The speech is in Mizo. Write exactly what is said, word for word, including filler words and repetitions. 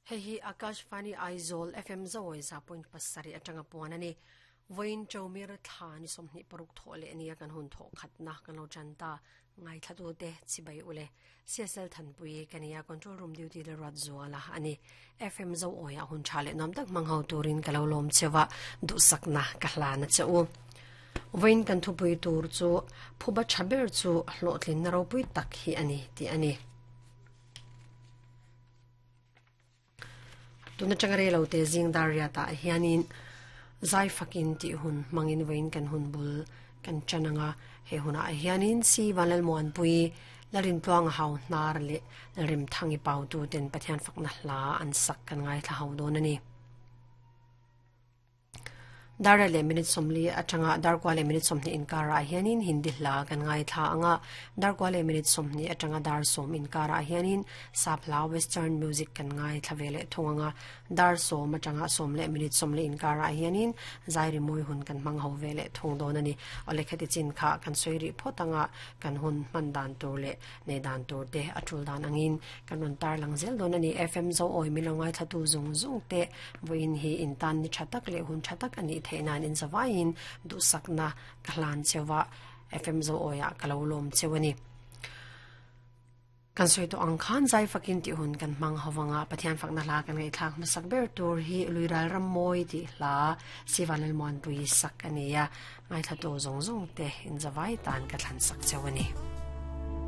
Hei hi Akashvani Aizawl F M Zawi za point pasarih atanga puan a ni. Vawiin Chawmir thla ni sawmhnih paruk thawh leh ania kan hun thawh khatna kan lo tan ta. Ngaithla te chibai ule C S L Thanpui kania control room duty le rat zuala ani F M Zawi a hun tha leh nom tak mang ho turin ka lo lawm chewa du sakna ka hlana cheu. Vawiin kan thupui tur chu phuba thaber chu hlawhtlin na ropui tak hi ani ti ani. Tuna changre lo te jing daria ta hianin zai fakin ti hun mangin vawiin kan hun bul kan chananga he huna hianin si vanlal muan pui larin tluang hau hnar le rim thangi pau tu ten pathian fakna hla an sak kan ngai thla hau don ani. Dar le minute somli atanga dar kwa le minute somni inkara hianin hindi hla kan ngai thla anga dar kwa le minute somni atanga dar som inkara hianin sapla western music kan ngai thlavele thunga dar som atanga som le minute somli inkara hianin zairi moi hun kan mang ho vele thung don ani ole khati chin kha kan soiri photanga kan hun man dan tur le ne dan tur te atul dan angin kan run tar lang zel don ani F M zo oi milongai thatu zung zung te voin hi intan ni thatak le hun thatak ani theinan in zawain du sakna kahlan chewa F M zo oya kalolom chewani kan soi to ang khan zai fakin ti hun kan mang hawanga pathian fakna hla kan ngai thak masak ber tur hi luiral ram moi ti hla sivanal mon pui sak ania ngai thla to zong zong te in zawai tan ka thlan sak chewani.